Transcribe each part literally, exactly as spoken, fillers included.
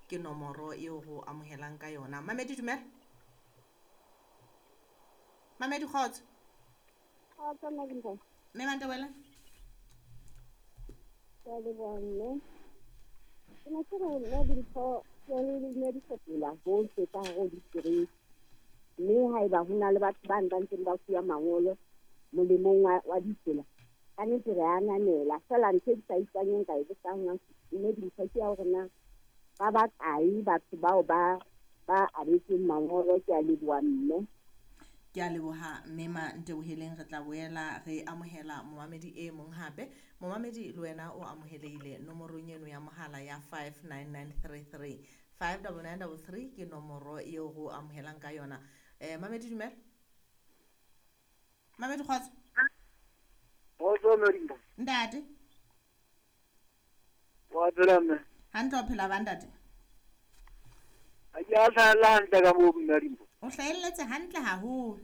ke nomoro eo go amohelang ka yona. Mamedi dumela. Mamedi kgotso. Kgotso Madimpo. Mme Mantebele. Ke a leboha mme. Ke ne ke re nna dintho le ne di fetola bohle ka hare ho ditereke. Mme haeba ho na le batho ba ba ntseng ba fuwa mangolo molemong wa, wa ditsela, ka nnete re ananela. Feela ntho e ke sa ikanyeng ka e botsang mme dintho ke ya hore na ba bakae batho bao ba ba abetsweng mangolo. Ke a leboha mme. Ke a leboha mme Manteboheleng. Re tla boela re amohela momamedi e mong hape. Momamedi le wena o amohelehile nomorong eno ya mohala ya five nine nine three three five double nine double three ke nomoro eo go amohelang ka yona. Eh mamedi dumela. Mamedi kgotso. Kgotso Modimo. Ntate. Wa phela mme. Hantle o phela ba ntate? Ha ke a hlahella hantle ka moo Modimo. O hlahelletse hantle haholo.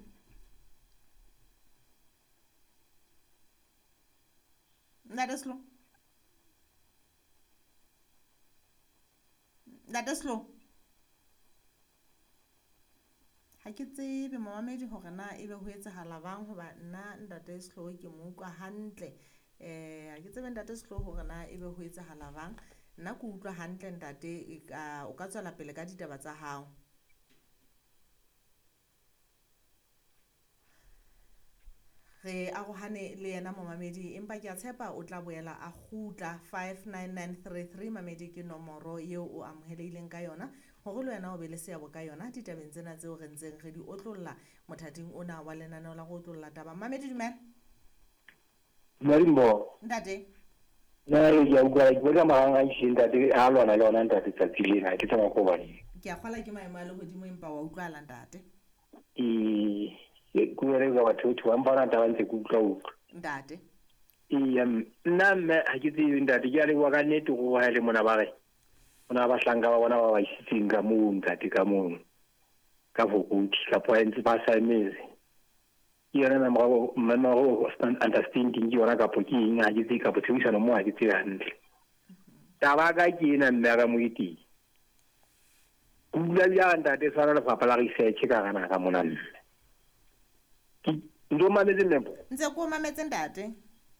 Ntate Slo. Ntate Slo. Ha ke tsebe momamedi hore na ebe ho etsahala bang hoba nna ntate Slo ke mo utlwa hantle. Eh ha ke tsebe ntate Slo hore na ebe ho etsahala bang. Nna ke utlwa hantle ntate, o ka tswela pele ka ditaba tsa hao. Re arohane le yena momamedi, empa ke a tshepa o tla boela a kgutla. Five nine nine three three mamedi ke nomoro eo o amohelehileng ka yona hore le wena o be le seabo ka yona ditabeng tsena tseo re ntseng re di otlolla mothating ona wa lenaneo la go otlolla taba. Mamedi dumela. Modimo. Ntate. Nna ke a utlwa ke bona marang a iseng ntate a lwana le ona ntate tsatsi lena ke tsama ko bane. Ke a kgola ke maemo a lehodimo empa wa utlwala ntate. Ee, ke bua ka batho batho ba mpana taba ntse ke utlwa utlwa. Ntate. Ee, nna mme ha ke tsebe ntate ke a leboha ka nnete go ha le mona ba re. Ona ba hlanka ba bona ba ba isitseng ka moo ntate ka moo. Ka bokudi ka points ba saemetse. Ke yona memorandum memorandum of understanding ke yona kapo ke eng ha ke tsebe kapo tshebedisano mo ha ke tsebe hantle. Taba ka ke ena mme ka moeti. Ke bula bjang ntate tshwana lefapha la research ka gana ka mona mme. Ke ntho mametse mme. Ntse ko mametse ntate.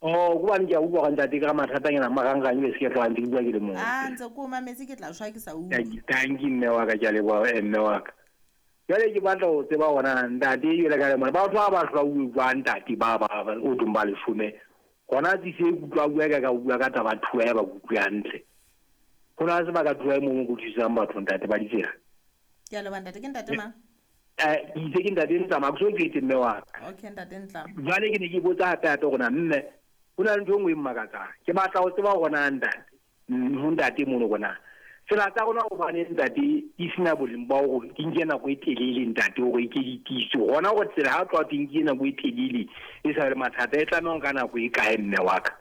Oh, go bane ke a utlwa ntate ka mathatanyana marangrang be se ke tla ntse ke bua ke le mong. Ah, ntse ko mametse ke tla shwa ke sa utlwe. Thank you mme wa ka ke a leboha mme wa ka. Jwale ke batla ho tseba hona ntate jwale ka le mona batho ba ba hloka utlwa ntate ba ba o tong ba leshome hona tse se utlwa bua ka ka bua ka taba thuwa ya ba utlwa hantle. Hona se ba ka thuwa mo mo thusang batho ntate ba ditsela. Ke a leboha ntate ke ntate mang? Eh itse ke ntate Ntlama ke so ke mme wa ka. Okay ntate Ntlama. Jwale ke ne ke botsa hape hape hona mme ho na le ntho e nngwe e mmakatsang. Ke batla ho tseba hona ntate. Ho ntate mono bona. Tsela tsa rona hobane ntate di sena boleng ba hore di nke nako e telele ntate hore ke di tiise. Hona hore tsela ha tloha di nke nako e telele e sa le mathata e tlameha ka nako e kae mme wa ka.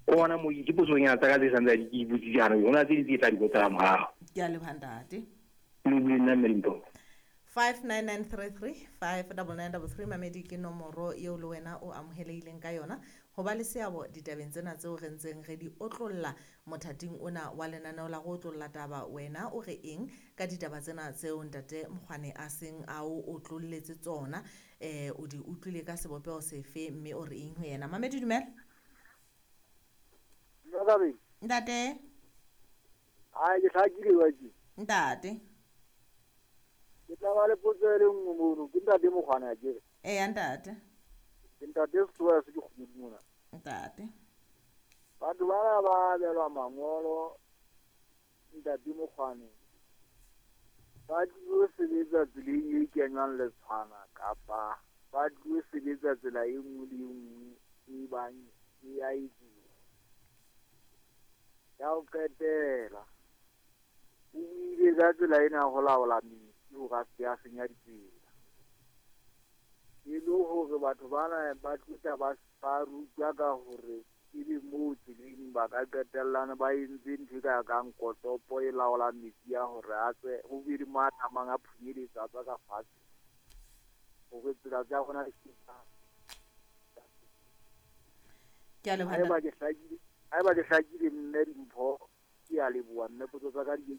Ona mo ke potsong ya tsa ka tse santse di ke botsitse jaanong hona tse di tse tla di botsa morao. Ke a leboha ntate. Le bue nna mme Limpopo. Five nine nine three three five double nine double three mamedi ke nomoro eo le wena o amohelehileng ka yona ho ba le seabo ditabeng tsena tseo re ntseng re di otlolla mothating ona wa lenaneo la go otlolla taba. Wena o re eng ka ditaba tsena tseo ntate Mokgwane a seng a o otlolletse tsona? Eh o di utlwile ka sebopeho sefe mme o re eng ho yena? Mamedi dumela. Ntate. Ai ke hlakile wa ke. Ntate. Ke tla ba le potso e le nngwe mono ke ntate Mokgwane a kere. Ee ntate. Ke ntate Setsoa se ke kgomodi mona. Ntate. Batho ba ba abelwa mangolo ntate Mokgwane ba tlilo sebetsa tseleng e kenywang letshwana kapa ba tlilo sebetsa tsela e nngwe le e nngwe e bang e a etsuwa. Ya ho qetela o buile ka tsela ena ya ho laola metsi hore a se a senya ditsela. E le hore batho bana ba tluta ba ba rutwa ka hore ebe moo tseleng ba ka qetellana ba entse ntho e ka kang kotopo e laolang metsi a hore a tswe ho be le mo a tlamang a phunyeletsa a tswa ka fatshe hore tsela tsa rona di se Ke a leboha. Haeba ke hlakile, haeba ke hlakile mme Dimpho ke a leboha mme potso tsa ka di